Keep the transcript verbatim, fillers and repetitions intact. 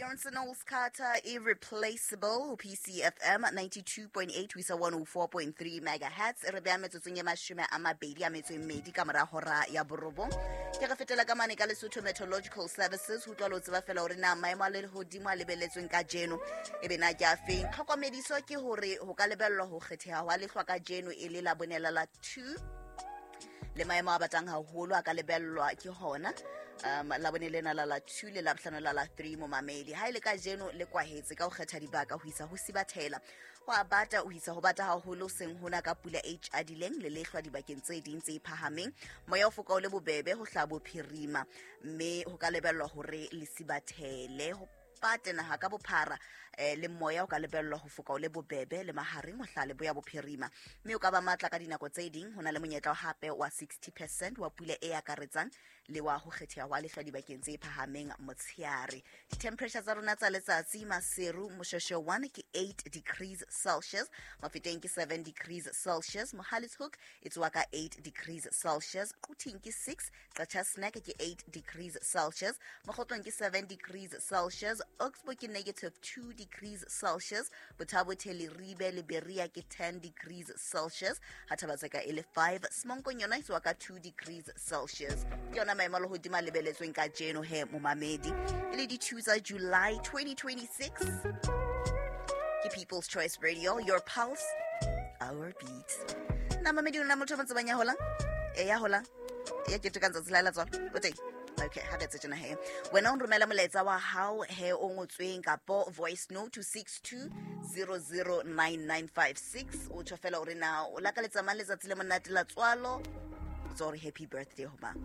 Beyonce Knowles Carter, Irreplaceable, ho P C F M ninety-two point eight ho isa one oh four point three megahertz. E re beha metsotsong e mashome a mabedi a metso e mmedi ka mora hora ya borobong. Ke re fetela ka mane ka Lesotho Meteorological Services ho utlwa le ho tseba fela hore na maemo a lehodimo a lebelletsweng kajeno e be na ke a feng. Tlhokomediso ke hore ho ka lebellwa ho kgetheha hwa lehlwa kajeno e le la bonela la two, le maemo a batang haholo a ka lebellwa ke hona um labone lena la la two le labohlano la la three. Momamedi, ha e le kajeno le kwahetse ka ho kgetha dibaka ho isa ho sibathela, ho a bata ho isa ho bata haholo, seng hona ka pula e tjadileng le lehlwa dibakeng tse ding tse phahameng. Moya o foka o le bobebe ho hlaha bophirima, mme ho ka lebellwa hore le sibathele, ho pate naha ka bophara. eh, le moya o ka lebellwa ho foka o le bobebe le mahareng ho hlaha leboya bophirima, mme o ka ba matla ka dinako tse ding. Ho na le monyetla hape wa sixty percent wa pula e akaretsang le wa ho kgetheha hwa lehlwa dibakeng tse phahameng motsheare. Di-temperature tsa rona tsa letsatsi: Maseru, Moshoeshoe one ke eight degrees Celsius, Mafeteng ke seven degrees Celsius, Mohale's Hoek e tsoa ka eight degrees Celsius, Quthing ke six, Qacha's Nek ke eight degrees Celsius, Mokhotlong ke seven degrees Celsius, Oxbow ke negative two degrees Celsius, Botha-Bothe, Leribe le Berea ke ten degrees Celsius, ha Thaba-Tseka e le five, Semonkong yona e tsoa ka two degrees Celsius. Ke yona maemo a lehodimo a lebeletsweng kajeno he, momamedi, e le di-two tsa July twenty twenty-six. Ke People's Choice Radio, your pulse, our beat. Na mamedi, o na motho o mo tsebang ya holang, e ya holang, ya ketekang tsatsi la la tswalo o teng? Okay, ha re etse tjena he, wena o nromela molaetsa wa hao he o ngotsweng kapo voice note to six two zero zero nine nine five six. O tjho fela hore na o lakaletsa mang letsatsi le monate la tswalo, o tswa hore happy birthday ho mang.